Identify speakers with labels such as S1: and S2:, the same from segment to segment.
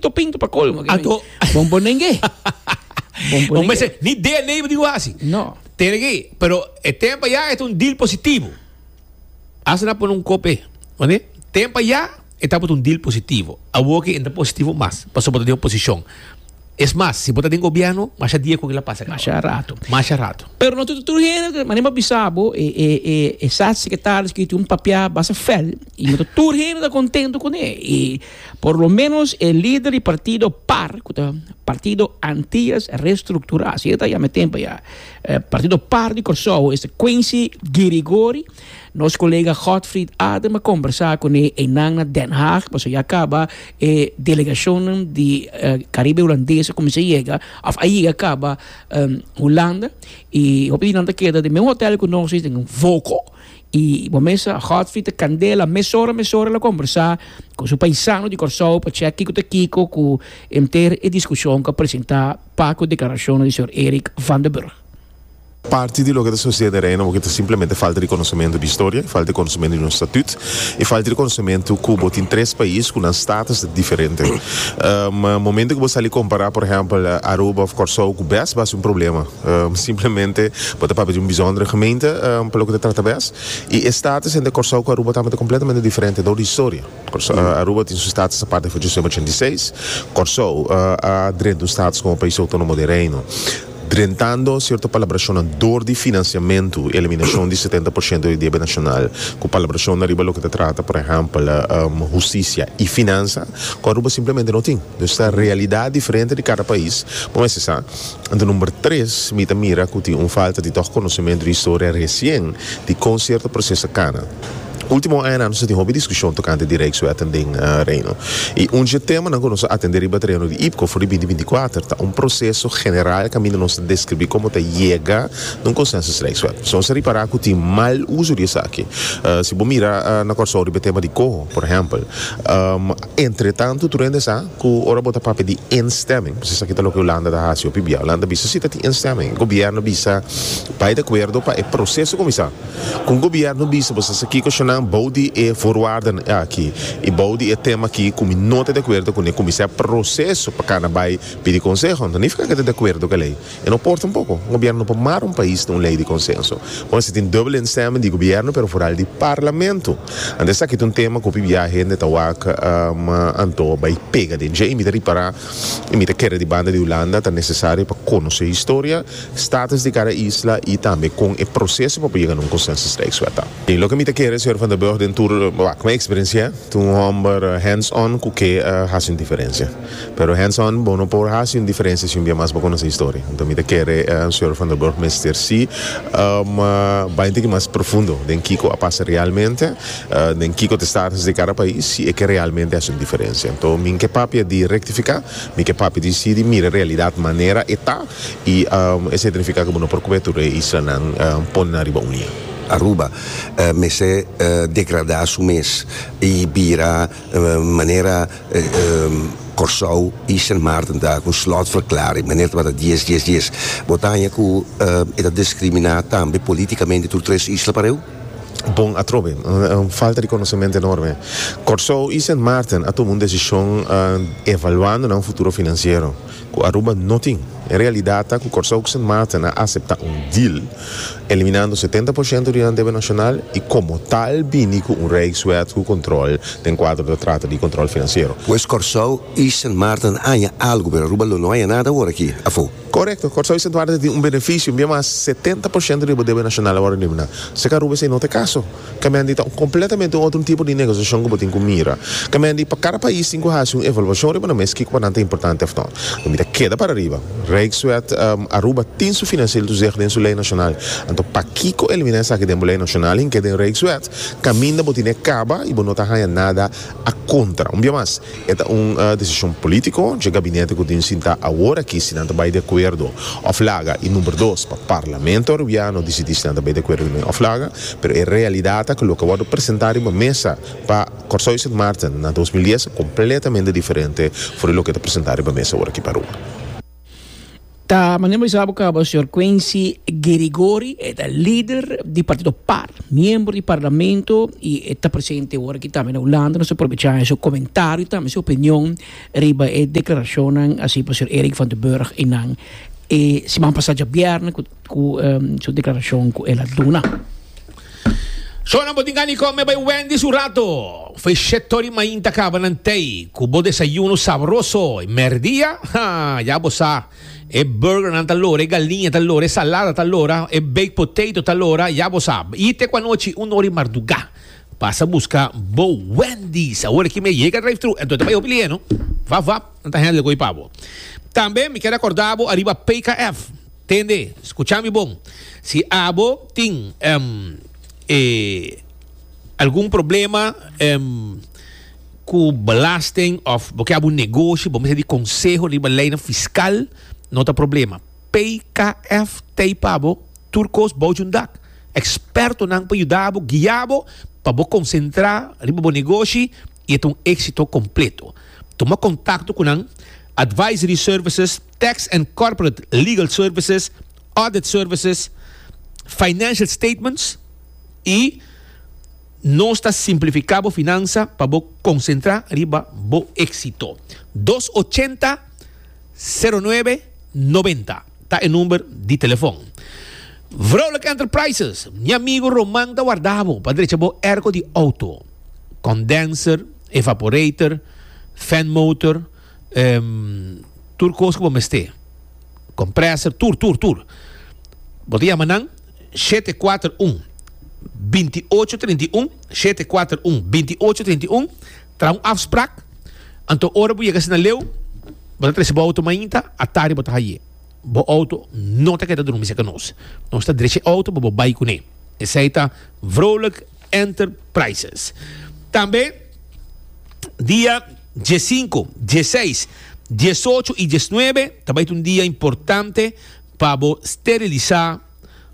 S1: To pinto pa colmo.
S2: Anto
S1: Bombonengue.
S2: Bombonengue. Mester ni DNA bo tin ku hasi.
S1: No.
S2: Tene ki, pero e tempo ya e ta un deal positivo. Hasta nan pone un kope, mane? Tempo ya e tabata un deal positivo. Awor ki e no ta positivo mas, pasobra bo ta den oposishon. Es mas, si bo ta den gobierno, masha dia ku kila pasa kaba.
S1: Masha rato.
S2: Masha rato.
S1: Pero no tur hende, manera bo a bisa bo, e e e e staatssecretaris ki tin un papia basta fel, i no ta tur hende ta contento kuné. I Por lo menos e lider di partido par, ku ta Partido Antillas Restrukturá, así e ta yama e tempu ya, Partido par di Kòrsou, esta Quincy Girigori. Nos kolega Godfried Adem a kombersá kuné einan na Den Haag, pasobra ya kaba e delegashonnan di Karibe Hulandes a kuminsá yega, òf a yega kaba Hulanda, i hopi di nan ta keda den mes hotèl ku nos, den Voko. I bo mesa Godfrey ta kandela mesora mesora el a kombersá ku su paisano di Kòrsou pa chèk kiko ta kiko ku henter e diskushon ku a presentá pa ku deklarashonnan di señor Eric van der Burg.
S3: Parti di loke ta sosede den Reino bo ta simplemente falta di konosementu di historia, falta di konosementu di nos statut i falta di konosementu ku bo tin tres pais ku nan status ta diferente. Momento ku bo sali kompará por ehèmpel Aruba òf Kòrsou ku bes bo hasi un problema. Simplemente bo ta papia di un bijzondere gemeente pa loke ta trata bes. I e status entre Kòrsou ku Aruba tambe ta kompletamente diferente dor di historia. Aruba tin su status aparte for djesnuebe ochenta i seis. Kòrsou a drenta un status komo pais outónomo den Reino. Drentando sierto palabrashonnan dor di finansiamentu, eliminashon di setenta por shento di debe nashonal, ku palabrashonnan riba loke ta trata por ehèmpel hustisia i finansa, ku Aruba simplemente no tin. Dus ta realidat diferente di kada pais. Bo mester sa. Anto number tres, mi ta mira ku tin un falta di tòg konosementu di historia resien di kon sierto proseso a kana. Ultimo añanan nos a tin hopi diskushon tokante di Rijkswetten den Reino. I un dje temanan ku nos a atendé riba tereno di IPKO for di binti 24 ta un proseso general kaminda nos ta deskribí komo ta yega na un konsensus Rijkswet. So nos a ripará ku tin mal uso di esaki. Si bo mira na Kòrsou riba e tema di koho, por ehèmpel, Entretantu tur hende sa ku ora bo ta papia di instemming, pasobra esaki ta loke Hulanda ta hasi hopi bia. Hulanda bisa si ta tin instemming. Gobièrnu bisa bai di akuerdo pa e proseso kuminsá. Ku un gobièrnu bisa bo sa sa kiko shonnan bou di e voorwaarden aki i bou di e tema aki ku mi no ta di akuerdo kuné, kuminsá e proseso pa kana bai pidi konseho. No ta nifiká ku e ta di akuerdo ku e lei. E no por tampoco. Un gobierno no por mara un pais na un ley di consenso. Bo mester tin dubbel instemming di gobierno pero vooral di parlamento. Anto esaki ta un tema cu hopi bia hende ta wak anto bay pega den dje y mi ta ripara y mi ta kere di banda di Hulanda ta necesario pa conoce historia, status di cada isla y tambe con e proceso pa por yega na un consensus rijkswet ta. Y loke mi ta kere señor Van der Burg den tur wak mi experiencia ta un homber hands on cu ke haci un diferencia. Pero hands on bo no por haci un diferencia si un bia mas bo conoce historia. Enton mi ta kere señor Van der Burg mester si bai un tiki mas profundo den kico a pasa realmente, den kico ta status di cada pais si e ke realmente haci un diferencia. Enton mi ke papia di rectifica, mi ke papia di si di mira realidad manera e ta y esey ta nifica cu bo no por cubia tur e islanan pone nan riba un liña.
S4: Aruba mester degrada su mes y bira manera Kòrsou i Sint Maarten ta ku slotverklaring, manera tabata dies dies dies. Bo ta haña ku e ta diskriminá tambe polítikamente tur tres isla pareu?
S3: Bon atrobe, un falta di konosementu enorme. Kòrsou i Sint Maarten a tuma un desishon evaluando nan futuro finansiero, ku Aruba no tin. E realidat ta ku Kòrsou ku Sint Maarten a aseptá un deal eliminando setenta por shento di nan debe nashonal i komo tal bini ku un Rijkswet ku kontrol den kuadro ta trata di kontrol finansiero.
S4: Pues Kòrsou i Sint Maarten haña algu pero Aruba lo no haña nada awor aki afó.
S3: Korekto, Kòrsou i Sint Maarten tin un benefisio, un bia mas 70% di bo debe nashonal a wòrdu eliminá. Seka Aruba esei no ta e kaso. Kamendi ta un kompletamente un otro tipo di negosiashon ku bo tin ku mira. Kamendi pa kada pais tin ku hasi un evaluashon riba nan mes kiko pa nan ta importante òf no. Mi ta keda para riba. Rijkswet Aruba tin su financieel toezicht den su lei nashonal. Anto pakiko eliminá esaki den bo lei nashonal hink'é den Rijkswet kaminda bo tine kaba i bo no ta haña nada a kontra. Un bia mas, e ta un desishon polítiko dje gabinete ku tin sintá awor aki si nan ta bai di akuerdo òf laga i number dos pa Parlamento Arubiano disidí si nan ta bai di akuerdo kuné òf laga. Pero e realidat ta ku loke a wòrdu presentá riba mesa pa Kòrsou i Sint Maarten na 2010 ta kompletamente diferente for di loke ta presentá riba mesa awor aki pa Aruba.
S1: Ta manera bo bisa bo caba señor Quincy Girigori e ta lider di partido par, miembro di parlamento y e ta presente ora aki tambe na Hulanda. Nos ta aprovecha su comentario tambe su opinion riba e declaracionnan haci pa señor Eric van der Burg y nan e siman pasa djabierne cu cu su declaracion cu el a duna.
S2: Shona bo tin gana di come bay Wendy's un rato. Fey shetor y mainta caba nan tey cu bo desayuno sabroso. Y merdia? Ha, ya bo sa. E burgernan ta lora, e galiña ta lora, e salada ta lora, e baked potato ta lora, ya bo sa. Y te cu anochi un ora y marduga. Pasa busca bo Wendy's. Awor aki mi a yega drive thru, enton ta bay hopi lihe no. Vap vap, nan ta handle cu y pa bo. Tambe mi kier acorda bo ariba PKF. Tende, scucha mi bon. Si abo tin e algun problema cu belasting of bo ke abo un negoshi, bo mester di conseho riba leynan fiscal, no ta problema. PKF t'ey pa bo tur cos bou djun dak. Expertonan pa yuda bo, guia bo pa bo concentra riba bo negoshi y e ta un exito completo. Tuma contacto cu nan, Advisory Services. Tax and Corporate Legal Services, Audit Services, Financial Statements y nos ta simplifica bo finansa pa bo concentra riba bo exito. Dos ochenta, sero nuebe, noventa ta e number di telefon. Vrolijk Enterprises, mi amigo Roman ta warda bo pa drecha bo airco di auto, condenser, evaporator, fan motor, Tur kos ku bo mester. Komprèser, tur, tur, tur. Bo ta yama nan 741 2831, 741 2831, traha un afsprak, anto ora bo yega asina leu, bo ta trese bo outo mainta, atari bo ta haye. Bo outo no ta keda drumi serka nos. Nos ta drecha e outo pa bo bai kuné. Esei ta Vrolijk Enterprises. Tambe dia diesinco, dieseis, diesocho y diesnuebe ta bai ta un dia importante pa bo sterilisa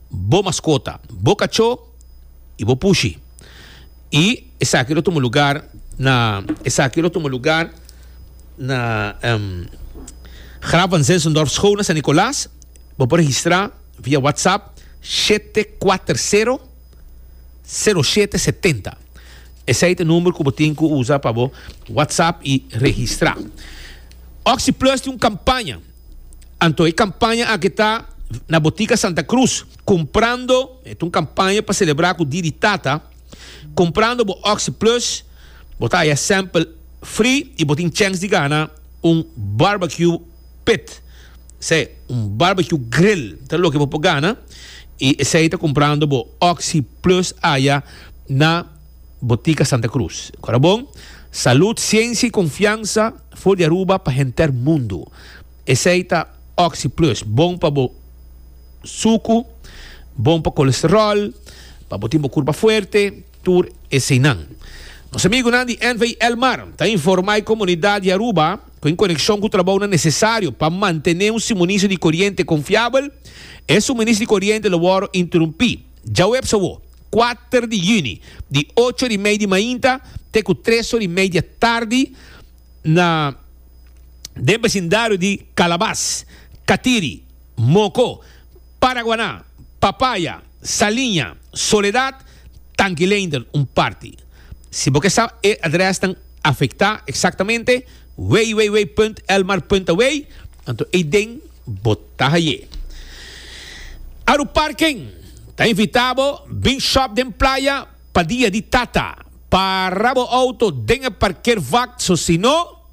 S2: bo mascota, bo cacho y bo pushi. Y esaki lo tuma lugar na esaki lo tuma lugar na Graaf van Zinzendorf School na San Nicolas. Bo por registra via WhatsApp 740 0770. Esei ta e number ku bo tin ku usa pa bo WhatsApp i registrá. OxyPlus tin un kampaña. Anto e kampaña aki ta na Botica Santa Cruz. Kumprando, e ta un kampaña pa selebrá ku Dia di Tata. Kumprando bo OxyPlus, bo ta haya sample free i bo tin chèns di gana un barbecue pit. Esei, un barbecue grill ta loke bo por gana i esei ta kumprando bo Oxi Plus aya na Botica Santa Cruz. Kora bon, salud, siensia i konfiansa for di Aruba pa henter mundu. Esei ta Oxi Plus, bon pa bo suku, bon pa kolesterol, pa bo tin bo kurpa fuerte. Tur eseinan. Nos amigunan di NV Elmar ta informa e comunidad di Aruba cu en coneccion cu trabounan necesario pa mantene un suministro di coriente confiabel, e suministro di coriente lo worde interumpi djaweps awo, kuater di juni, di ocho ora y mei di mainta te cu tres ora y mei di atardi na den becindario di Calabas, Catiri, Moco, Paraguaná, Papaya, Saliña, Soledad, Tanki Leendert un parti. Si bo ke sa e adresnan afektá eksaktamente, www.elmar.aw, anto eiden bo ta haye. Aruparking ta invitá bo bin shop den playa pa dia di tata. Para bo outo den e parkeervak so si no,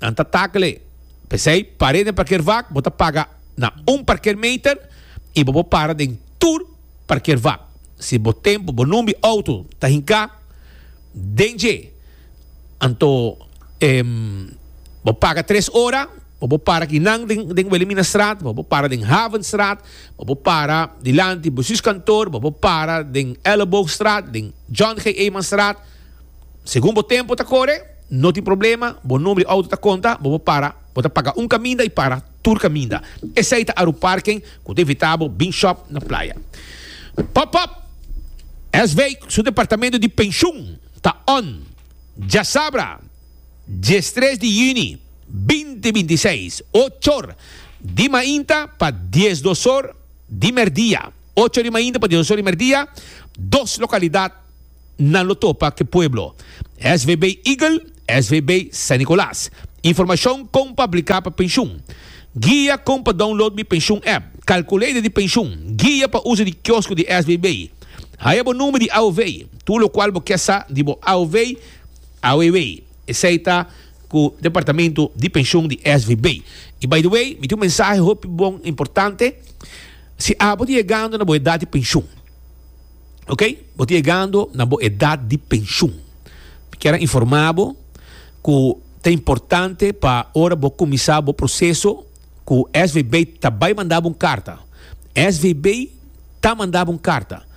S2: Nan ta takle. P'esei, par'é den parkeervak, bo ta paga na un parkeermeter i bo por para den tur parkeervak. Si bo tempu, bo number di outo ta hinká den dje, anto bo paga tres ora, bo por para kinan den den Wilhelminastraat, bo por para den Havenstraat, bo por para dilanti Bestuurskantoor, bo por para den Elleboogstraat, den John G. Emanstraat. Segun bo tempu ta kore, no tin problema, bo number di auto ta konta, bo por para, bo ta paga un kaminda i para tur kaminda. Esei ta Aruparking ku ta invitá bo bin shop na playa. Pop Pop! SV su departamento di penshun ta on djasabra diestres di yüni binti 26, ochor. Di mainta pa 12 or di merdia. Ocho di mainta pa 12 or di merdia, dos localidad nan lo topa cu e pueblo. SVB Eagle, SVB San Nicolas. Informacion con pa aplica pa pensioen. Guia con pa download Mi Pensioen app. Calculator di pensioen. Guia pa uso di kiosco di SVB. Haya bo number di AOV. Tur locual bo kier sa di bo AOV, AOW. Esey ta cu departamento di pensioen di SVB. Y by the way, mi tin un mensahe hopi bon importante. Si abo ta yegando na bo edad di pensioen, ok, bo ta yegando na bo edad di pensioen, mi kier a informa bo cu ta importante pa ora bo cuminsa bo proceso cu SVB ta bay manda bo un carta. SVB ta manda bo un carta,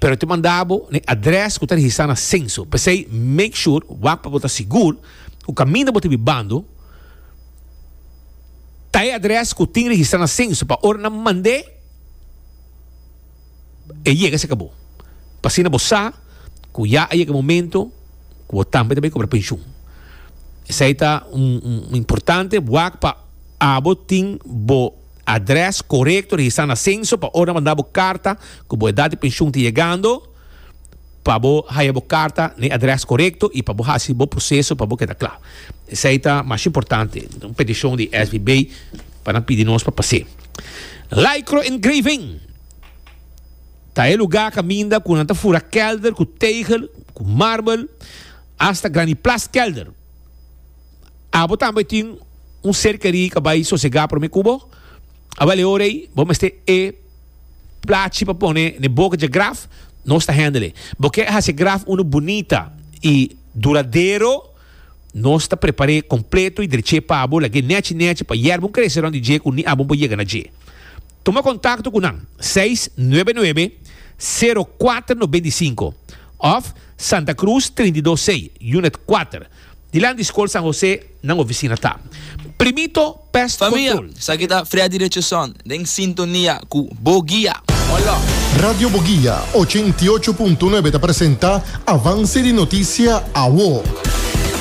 S2: pero ta manda bo na e adres cu ta registra na censo. P'esey make sure, wak pa bo ta sigur cu caminda bo ta bibando, Ta e adres ku tin registrá na senso pa ora nan mand'é e yega serka bo. Pa asina bo sa ku ya a yega e momento ku bo tambe ta bai kobra penshun. Esei ta un un importante wak pa abo tin bo adres korekto registrá na senso pa ora nan manda bo karta ku bo edat di penshun ta yegando. Pa bo haya bo karta na e adrès korekto i pa bo hasi bo proseso pa bo keda kla. Esei ta masha importante. Un petishon di SVB pa nan pidi nos pa pas'é. Lycro Engraving ta e lugá kaminda ku nan ta fura kèlder ku tegel, ku marbel, asta graniplas kèlder. Abo tambe tin un ser kerí ku a bai sosegá promé ku bo? Awèl e ora ei bo mester e. Plachi pa pone n'e boka dje graf, nos ta handle. Bo ke hasi e graf unu bunita i duradero, nos ta prepar'é kompleto i drech'é pa bo, lag'é nèchi nèchi pa yèrba un krese rònt di dje ku ni abo por yega na dje. Tuma kontakto ku nan, seis nuebe nuebe, sero kuater 95 òf Santa Cruz 32 C, Unit kuater. Dilanti di Skol San Jose nan oficina ta. Primito Pest
S5: Famia,
S2: Control.
S5: esaki ta Freddy Richardson den sintonia ku Bo Guia. Hola!
S6: Radio Boguia 88.9 ta presenta Avance di Noticia Awo.